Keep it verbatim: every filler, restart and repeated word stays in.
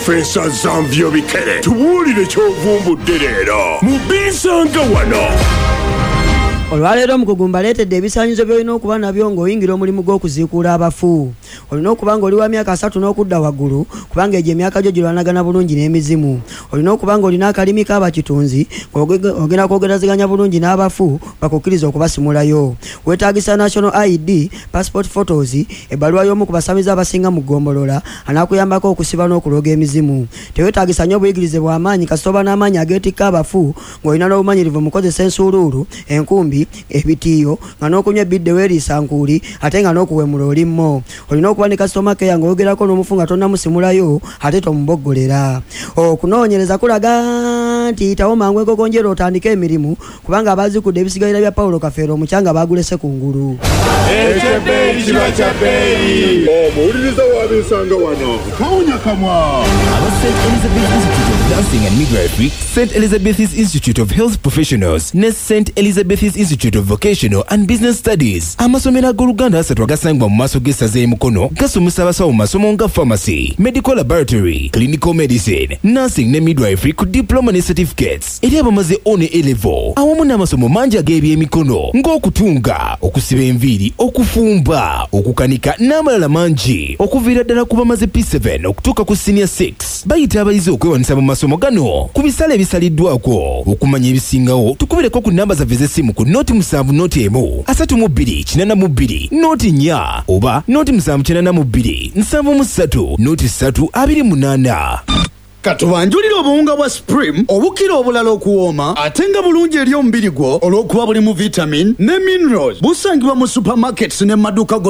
Profesa Zanvyo Bikere, tubuulire ky'ovumbudde leero mu Binsanga Wano. Olwaleero omukugu mbaleetedde ebisaanyizo by'olina okuba nabyo ng'oyingira omulimu gw'okuziikuula abafu. Olina okuba ng'oli wa myaka asatu n'okudda waggulu, kubanga egyo emyaka gyo girwanagana bulungi n'emizimu. Olina okuba ng'olina akalimi k'abakitunzi, ng'ogenda kwogeraziganya bulungi n'abafu bakukkiriza okubasimulayo. Weetaagisa National I D, passport photos, ebbaluwa y'omu ku basamize abasinga mu ggombolola anaakuyambako okusiba n'okuloga emizimu. Teweetaagisa nnyo obuyigirize bw'amaanyi, kasita oba n'amaanyi ageetikka abafu, ng'olina n'obumanyirivu mu kukozesa ensuuluulu, enkumbi, ebitiiyo, nga n'okunywa ebbidde weeriisa nkuuli, ate nga n'okuwemula oli mmo. Olina okuba ne customer care ng'oyogerako n'omufu nga tonnamusimulayo, ate tomuboggolera. Okunoonyereza kulaga nti yitawo mangu enkokonjeera otandike emirimu, kubanga abaazikudde ebisigalira bya Pawulo Kafeero omucanga baagulese ku ngulu. Ekyebbeeyi kiba kya bbeeyi. Omuwuliriza wa Binsanga Wano tawunya kamwa. Aba Saint Elizabeth Institute of Nursing and Midwifery, Saint Elizabeth's Institute of Health Professionals ne Saint Elizabeth's Institute of Vocational and Business Studies, amasomero ag'oluganda asatu agasangibwa mu maaso g'essaza e Mukono, gasomesa abasawo mu masomo nga pharmacy, medical laboratory, clinical medicine, nursing ne midwifery ku diploma ne certificates eri abamaze O ne A level, awamu n'amasomo mangi ag'ebyemikono ng'okutunga, okusiba enviiri, okufumba, okukanika n'amalala mangi. Okuviira ddala ku bamaze P seven okutuuka ku senior six, bayita abayizi okwewanisa mu masomo gano ku bisale ebisaliddwako. Okumanya ebisingawo, tukubireko ku namba zaffe ez'essimu ku noti musanvu noti emu asatu mu bbiri kinaana mu bbiri noti nnya oba noti musanvu kinaana mu bbiri nsanvu mu ssatu noti ssatu abiri munaana. Katubanjulire obuwunga bwa Supreme obukira obulala okuwooma, ate nga bulungi eri omubiri gwo olw'okuba bulimu vitamin ne minerals. Busangibwa mu supermarkets ne maduuka gonna.